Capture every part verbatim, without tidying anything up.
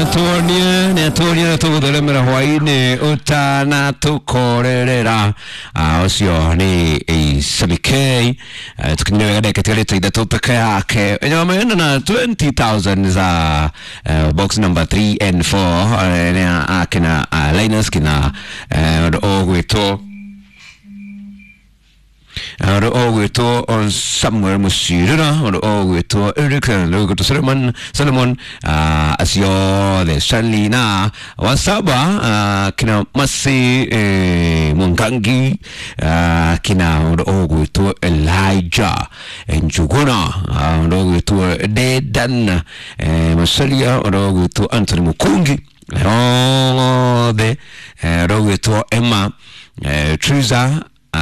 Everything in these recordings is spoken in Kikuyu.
Tuonie nä atuonie tå gå theremera hwainä å tanatå korerera å cio nä Sammy K. Tå kinyire wega ndagä tigarä te ithatå peke yake nyamena na twenty thousand za uh, box number three and four nä akina uh, Linus kina å gwä ũndũ ũgwĩtwo Samuel Mũcirĩra, ũndũ ũgwĩtwo Eric, ũndũ ũgwĩtwo Solomon Solomon uh, acio othe Stanley na wasaba uh, kina Masi eh, Mwangangi uh, kina ũndũ ũgwĩtwo Elijah Njuguna, ũndũ ũgwĩtwo Dedan eh, Masalia, ũndũ ũgwĩtwo Anthony Mukungi othe, ũndũ ũgwĩtwo Emma eh, Triza, uh,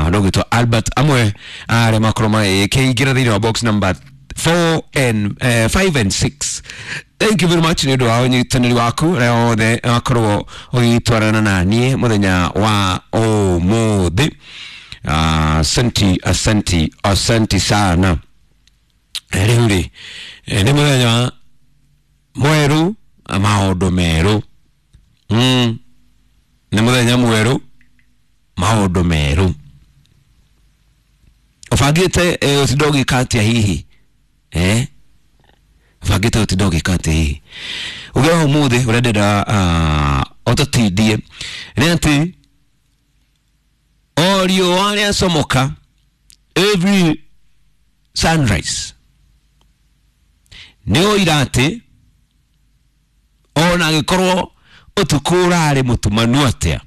ũgwĩtwo Albert amwe arĩa makorwo makĩingĩra thĩinĩ wa box number four and uh, five and six. Thank you very much nĩ ũndũ wa ũnyitanĩri waku arĩa othe wakorwo ũgĩtwarana na niĩ mũthenya wa ũmũthĩ. Asanti, asanti, asanti sana. Rĩu rĩ nĩ mũthenya mwerũ, maũndũ merũ. mm. Nĩ mũthenya mwerũ, maũndũ merũ. Ũbangĩte ũtinda ũgĩka atĩa hihi? Eh, ũbangĩte ũtinda ũgĩka atĩa hihi uge wa ũmũthĩ? Ũrĩa ndĩrenda ũtũtindie nĩ atĩ o riũa rĩacomoka, every sunrise, nĩ ũira atĩ ona angĩkorwo ũtukũ ũrarĩ mũtumanu atĩa,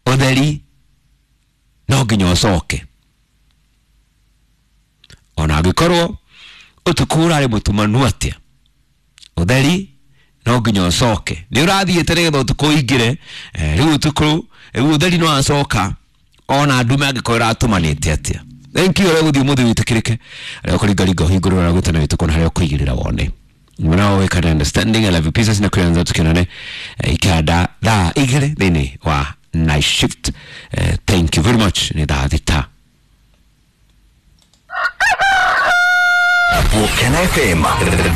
ũtheri no nginya ũcoke. Ona angĩkorwo ũtukũ ũrarĩ mũtumanu atĩa, ũtheri no nginya ũcoke. Nĩ ũrathiĩte nĩgetha ũtukũ ũingĩre. Rĩu ũtukũ rĩu ũtheri no acoka ona ndume angĩkorwo ĩratumanĩte atĩa. Thank you. Ũrĩa gũthiĩ ũmũthĩ wĩtĩkĩrĩke, arĩa ũkũringaringa ũhingũrwo na gwĩtana wĩtũkwo na harĩa ũkũigĩrĩra wone mwana wĩkana understanding. I love you, pieces na kuanza tukinane ikada thaa igĩrĩ thĩinĩ wa night shift. Uh, thank you very much. Nĩ thaa thita. Volcan F M.